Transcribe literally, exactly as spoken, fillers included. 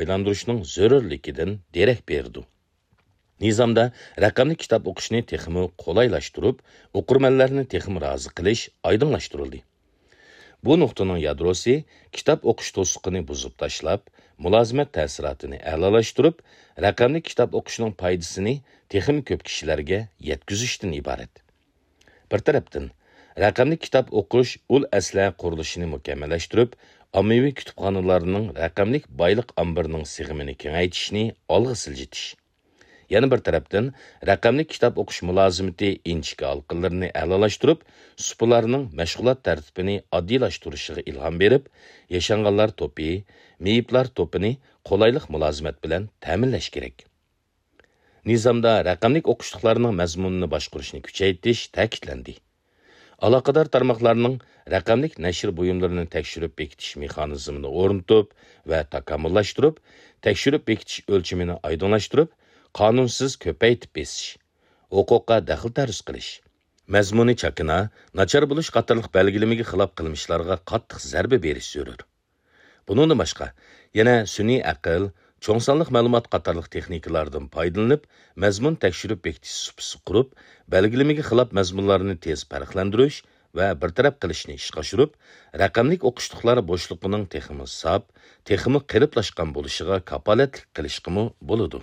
ئايلاندۇرۇشنىڭ زۆرۈرلۈكىدىن دېرەك بېرىدۇ. نىزامدا رەقەملىك كىتاب ئوقۇشنى تېخىمۇ قولايلاشتۇرۇپ، ئوقۇرمەنلەرنى تېخىمۇ رازى قىلىش ئايدىڭلاشتۇرۇلدى. بۇ نۇقتىنىڭ يادروسى كىتاب ئوقۇش توسۇقىنى بۇزۇپ تاشلاپ، مۇلازىمەت تەسىراتىنى ئەلالاشتۇرۇپ، رەقەملىك كىتاب ئوقۇشنىڭ پايدىسىنى تېخىمۇ كۆپ كىشىلەرگە يەتكۈزۈشتىن ئىبارەت. بىر تەرەپتىن، رەقەملىك كىتاب ئوقۇش ئۇل ئەسلىھە قۇرۇلۇشىنى مۇكەممەللەشتۈرۈپ، ئاممىۋى كۇتۇپخانىلارنىڭ رەقەملىك بايلىق ئامبىرىنىڭ سىغىمىنى كېڭەيتىشنى ئالغا سىلجىتىش. يەنە بىر تەرەپتىن، رەقەملىك كىتاب ئوقۇش مۇلازىمىتى ئىنچىكە ھالقىلىرىنى ئەلالاشتۇرۇپ، سۇپىلارنىڭ مەشغۇلات تەرتىپىنى ئاددىيلاشتۇرۇشىغا ئىلھام بېرىپ، ياشانغانلار توپى، مېيىپلار توپىنى قولايلىق مۇلازىمەت بىلەن تەمىنلەش كېرەك. نىزامدا رەقەملىك ئوقۇشلۇقلارنىڭ مەزمۇنىنى باشقۇرۇشنى كۈچەيتىش تەكىتلەندى. ئالاقىدار تارماقلارنىڭ رەقەملىك نەشر بۇيۇملىرىنى تەكشۈرۈپ بېكىتىش مېخانىزمىنى ئورنىتىپ ۋە تاكامۇللاشتۇرۇپ، تەكشۈرۈپ بېكىتىش ئۆلچىمىنى ئايدىڭلاشتۇرۇپ، قانۇنسىز كۆپەيتىپ بېسىش، ھوقۇققا دەخلى تەرۇز قىلىش، مەزمۇنى چاكىنا، ناچار بولۇش قاتارلىق بەلگىلىمىگە خىلاپ قىلمىشلارغا قاتتىق زەربە بېرىش زۆرۈر. بۇنىڭدىن باشقا، يەنە سۈنئىي ئەقىل، چوڭ سانلىق مەلۇمات قاتارلىق تېخنىكىلاردىن پايدىلىنىپ، مەزمۇن تەكشۈرۈپ بېكىتىش سۇپىسى قۇرۇپ، بەلگىلىمىگە خىلاپ مەزمۇنلارنى تېز پەرقلەندۈرۈش ۋە بىر تەرەپ قىلىشنى ئىشقا ئاشۇرۇپ، رەقەملىك ئوقۇشلۇقلار بوشلۇقىنىڭ تېخىمۇ ساپ، تېخىمۇ قېلىپلاشقان بولۇشىغا كاپالەتلىك قىلىشقىمۇ بولىدۇ.